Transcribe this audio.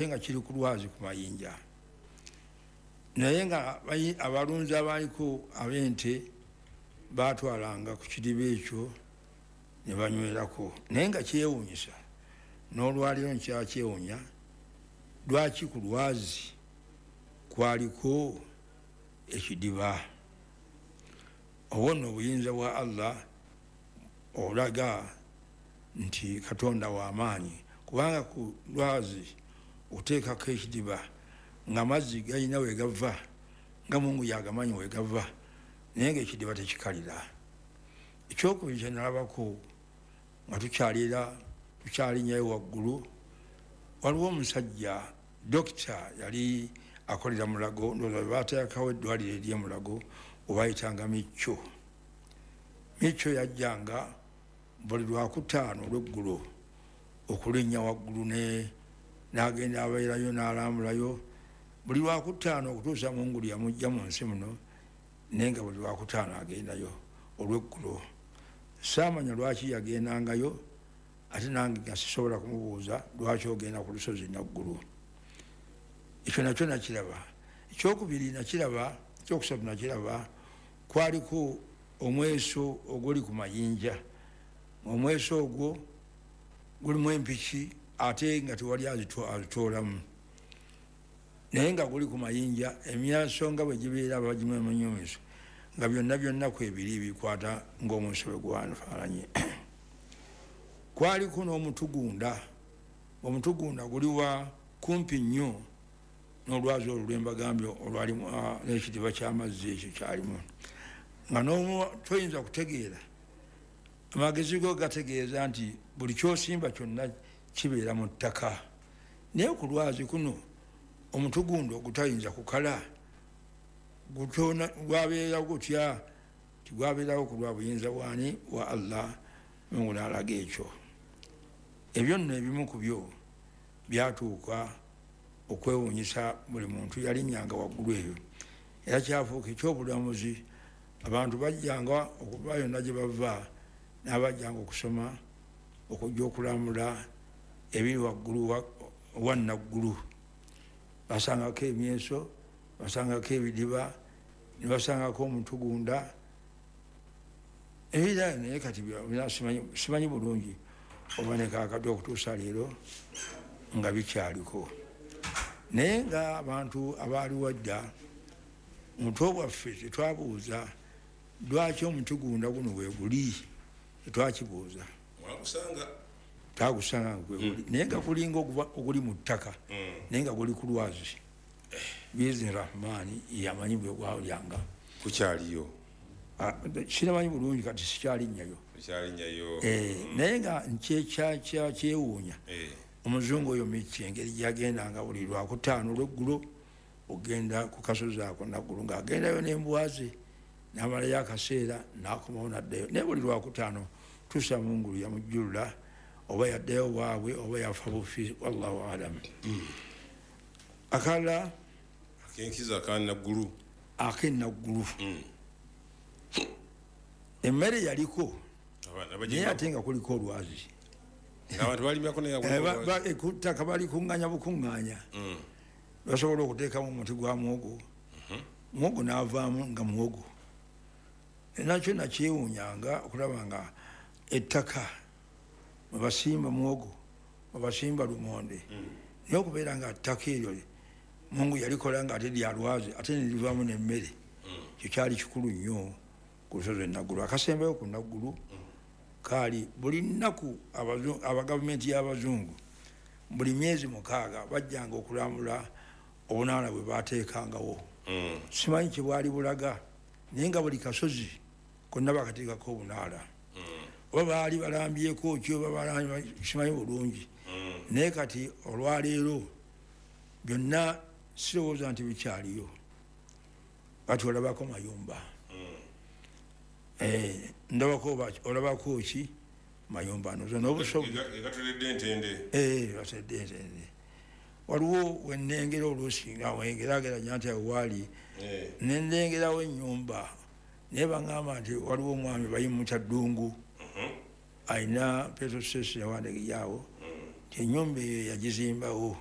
Nga kiri ku lwazi ku mayinja, naye nga abalunzi abaliko ab'ente batwalanga ku kidiba ekyo ne banywerako. Naye nga kyewuunyisa, n'olwaliro nkyakyewuunya lwaki ku lwazi kwaliko ekidiba. Obwo nno obuyinza bwa Allah olaga nti Katonda w'amaanyi, kubanga ku lwazi oteekako ekidiba nga amazzi galina we gava, nga Mungu yagamanyi we gava, naye nga ekidiba tekikalira. Ekyokubiri kyenalabako nga tukyalira tukyalinyayo waggulu, waliwo omusajja dokita yali akolera Mulago, ndowooza bateekawo eddwaliro ery'Emulago obayitanga Micho. Micho yajjanga buli Lwakutaano olweggulo okulinnya waggulu n'agenda abeerayo n'alambulayo buli Lwakutaano okutuusa Mungulu yamujja mu nsi muno, naye nga buli Lwakutaano agendayo olweggulo. Saamanya lwaki yagendangayo, ate nange nga sisobola kumubuuza lwaki ogenda ku lusozi Naggulu. Ekyo nakyo nakiraba. Ekyokubiri nakiraba, ekyokusatu nakiraba, kwaliko omweso oguli ku mayinja. Omweso ogwo gulimu empiki ate nga tewali azitoolamu, naye nga guli ku mayinja. Emyaso nga bwe gibeera bagimunyumiso nga byonna byonna kwebiri bikwata ng'omweso bwe gwafaananye. Kwaliko n'omutugunda. Omutugunda guli wa kumpi nnyo n'olwazi olwo lwembagambye olwalimu n'ekidiba ky'amazzi ekyo kyalimu, nga toyinza kutegeera. Amagezi go gategeeza nti buli kyosimba kyonna kibeera mu ttaka, naye ku lwazi kuno omutugunda ogutayinza kukala gwabeera gutya? Tigwabeerawo ku lwa buyinza bwani? Wa Allah. Mungu n'alaga ekyo. Ebyo nno ebimu ku byo byatuuka okwewuunyisa buli muntu yalinnyanga waggulu eyo, era kyafuuka ekyobulamuzi. Abantu bajjanga okuva yonna gye bava, n'abajjanga okusoma, okujja okulamula ebiri waggulu wa Naggulu. Basangako emyeso, basangako ebidiba, ne basangako omutugunda ebira. Naye kati simanyi bulungi oba nekakati okutuusa leero nga bikyaliko. Naye nga abantu abaaliwo dda muto bwaffe tetwabuuza lwaki omutugunda guno weeguli, tetwakibuuza, twagusanga nga gweguli, naye nga gulinga oguli mu ttaka, naye nga guli ku lwazi. Biizni Rahmaani yamanyi bwe gwalyanga. Kukyaliyo? Sinamanyi bulungi, kati sikyalinnyayo, naye nga nkyewuunya omuzungu oyo Miki engeri gyagendanga buli Lwakutaano olweggulo ogenda ku kasozi ako Naggulu, ng'agendayo n'embwaze n'amalayo akaseera n'akomawo n'addayo, naye buli Lwakutaano tuusa Mungulu yamujjulula oba yaddayo waabwe oba yafa bufi, wallahu alam. Akalala akenkiza akanaggulu, akenaggulu, emmere yaliko, naye ate nga kuliko olwazi. Abantu balimyako? Ettaka balikuŋŋanya bukuŋŋanya, basobola okuteekamu omuti gwa muwogo, muwogo n'avaamu nga muwogo. Nakyo nakyewuunyanga okulaba nga ettaka mwebasimba muwogo, mwebasimba lumonde, naye okubeera nga ttaka eryo Mungu yalikola nga ate lyalwazi, ate nerivaamu nemmere, ekyo kyali kikulu nnyo ku lusozi Enaggulu. Akasembayo ku Naggulu kaali buli nnaku abagavumenti y'abazungu buli myezi 6 bajjanga okulambula obunaala bwe bateekangawo. Simanyi kyebwali bulaga, naye nga buli kasozi konna bakateekako obunaala, oba baali balambyeko ki oba simanyi bulungi. Naye kati olwaleero byonna sirowooza nti bikyaliyo. Kati olabako mayumba, ndabako, olabako ki mayumba nozo n'obusobozi batedde entende. Waliwo wenengera oluusi nga wengerageranya nti awo waali nendengerawo ennyumba, naye baŋŋamba nti waliwo omwami bayimuta Ddungu, alina petrol station yawandegeyaawo, nti ennyumba eyo yagizimbawo.